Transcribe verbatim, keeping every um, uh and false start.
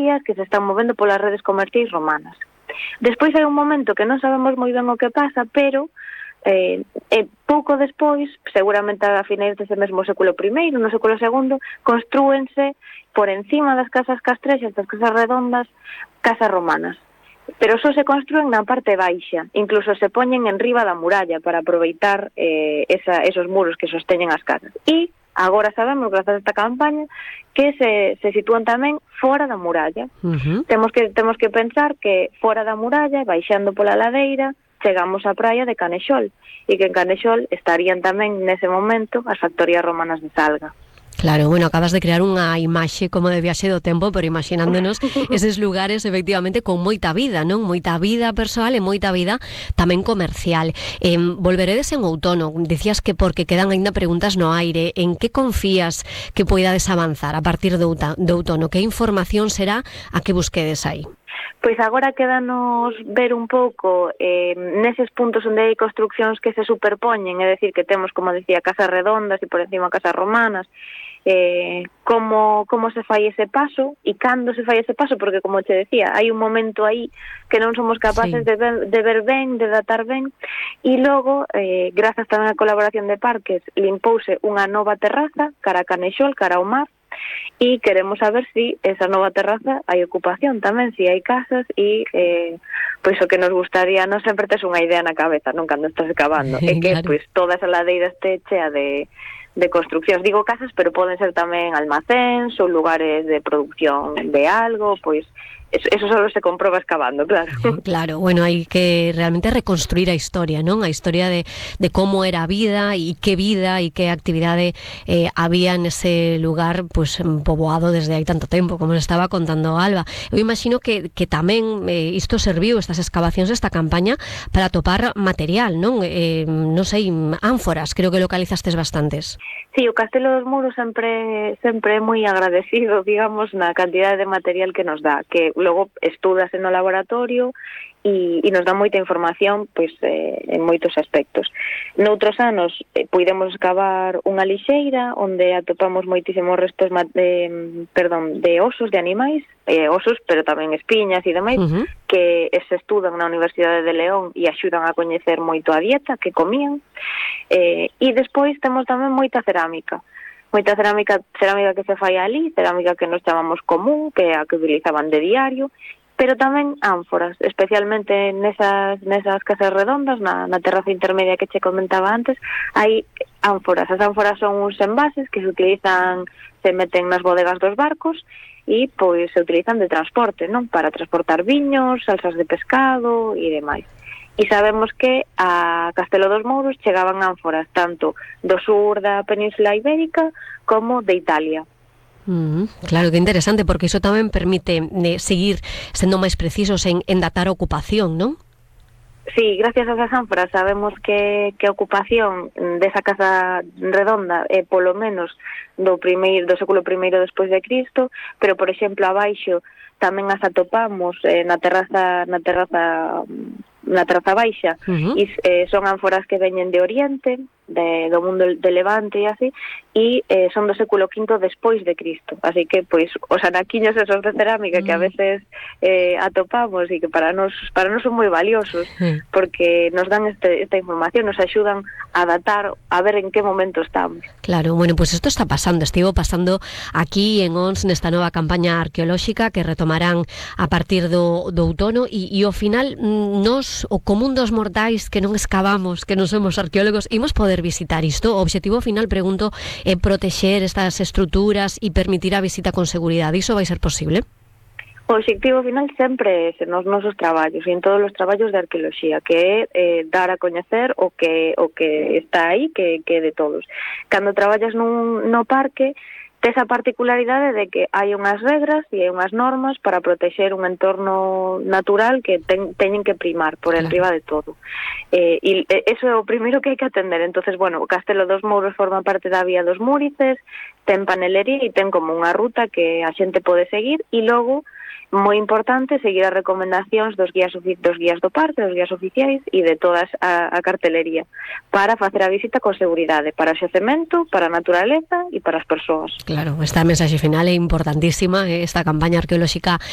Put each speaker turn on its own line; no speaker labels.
días que se están movendo polas redes comerciais romanas. Despois hai un momento que non sabemos moi ben o que pasa, pero eh, eh, pouco despois, seguramente a finais dese mesmo século primeiro, no século segundo, construense por encima das casas castrexas, das casas redondas, casas romanas. Pero só se construen na parte baixa, incluso se poñen en riba da muralla para aproveitar eh, esa, esos muros que sosteñen as casas. E agora sabemos, grazas a esta campaña, que se, se sitúan tamén fora da muralla.
Uh-huh.
Temos que temos que pensar que fora da muralla, baixando pola ladeira, chegamos á praia de Canexol, e que en Canexol estarían tamén nese momento as factorías romanas de Salga.
Claro, bueno, acabas de crear unha imaxe como de viaxe do tempo, pero imaginándonos eses lugares efectivamente con moita vida, non? Moita vida persoal e moita vida tamén comercial. Eh, volveredes en outono, dicías que porque quedan aínda preguntas no aire, en que confías que poidades avanzar a partir do, do outono? Que información será a que busquedes aí?
Pois agora quédanos ver un pouco eh, neses puntos onde hai construccións que se superpoñen, é dicir, que temos, como decía, casas redondas e por encima casas romanas, eh, como, como se fai ese paso e cando se fai ese paso, porque, como te decía, hai un momento aí que non somos capaces sí. de, ver, de ver ben, de datar ben, e logo, eh, grazas tamén á colaboración de Parques, limpouse unha nova terraza cara a Canexol, cara ao mar, e queremos saber si esa nova terraza hai ocupación tamén, si hai casas e eh, pois o que nos gustaría, non sempre tes unha idea na cabeza, non, cando estás excavando, é que
claro.
pois toda esa ladeira este chea de de construccións, digo casas, pero poden ser tamén almacéns ou lugares de producción de algo, pois eso, eso só se comproba excavando, claro.
Claro, bueno, hai que realmente reconstruir a historia, non? A historia de, de como era a vida e que vida e que actividade eh, había nese lugar pues, poboado desde hai tanto tempo, como nos estaba contando Alba. Eu imagino que, que tamén eh, isto serviu, estas excavacións, esta campaña, para topar material, non? Eh, non sei, ánforas, creo que localizastes bastantes.
Sí, o Castelo dos Muros sempre sempre é moi agradecido, digamos, na cantidade de material que nos dá, que logo estúdase no laboratorio e, e nos dá moita información pois, eh, en moitos aspectos. Noutros anos eh, puidemos excavar unha lixeira onde atopamos moitísimos restos de, perdón, de osos de animais, eh, osos, pero tamén espiñas e demais, uh-huh. que se estudan na Universidade de León e axudan a coñecer moito a dieta que comían. Eh, e despois temos tamén moita cerámica. Moita cerámica, cerámica que se fai ali, cerámica que nos chamamos común, que é a que utilizaban de diario, pero tamén ánforas, especialmente nesas, nesas casas redondas, na, na terraza intermedia que che comentaba antes, hai ánforas. As ánforas son uns envases que se utilizan, se meten nas bodegas dos barcos e pois se utilizan de transporte, non? Para transportar viños, salsas de pescado e demais. E sabemos que a Castelo dos Mouros chegaban ánforas tanto do sur da Península Ibérica como de Italia.
Mm, claro, que interesante, porque iso tamén permite eh, seguir sendo máis precisos en, en datar a ocupación, non?
Sí, gracias a esas ánforas sabemos que, que a ocupación desa casa redonda é polo menos do primeiro do século primeiro despois de Cristo, pero por exemplo abaixo tamén as atopamos eh, na terraza na terraza na terraza baixa, uh-huh. e eh, son ánforas que veñen de Oriente, de, do mundo de Levante e así, e eh, son do século quinto despois de Cristo, así que pois os anaquiños esos de cerámica uh-huh. que a veces eh, atopamos e que para nos para nos son moi valiosos, uh-huh. porque nos dan este, esta información, nos axudan a datar, a ver en que momento estamos.
Claro, bueno, pues isto está pasando, estivo pasando aquí en Ons nesta nova campaña arqueolóxica que retomarán a partir do, do outono e, e ao final nos, o común dos mortais que non excavamos, que non somos arqueólogos, imos poder visitar isto. O obxectivo final, pregunto, é protexer estas estruturas e permitir a visita con seguridade. Iso vai ser posible?
O obxectivo final sempre é nos nosos traballos e en todos os traballos de arqueoloxía, que é eh, dar a coñecer o que o que está aí, que, que é de todos. Cando traballas nun, no parque, tes a particularidade de que hai unhas regras e hai unhas normas para protexer un entorno natural que ten, teñen que primar por enriba de todo. Eh, e eso é o primeiro que hai que atender. Entonces, bueno, o Castelo dos Mouros forma parte da Vía dos Múrices, ten panelería e ten como unha ruta que a xente pode seguir e logo moi importante seguir as recomendacións dos guías dos guías do parque, dos guías oficiais e de todas a, a cartelería para facer a visita con seguridade, para o xacemento, para a naturaleza e para as persoas.
Claro, esta mensaxe final é importantísima, esta campaña arqueolóxica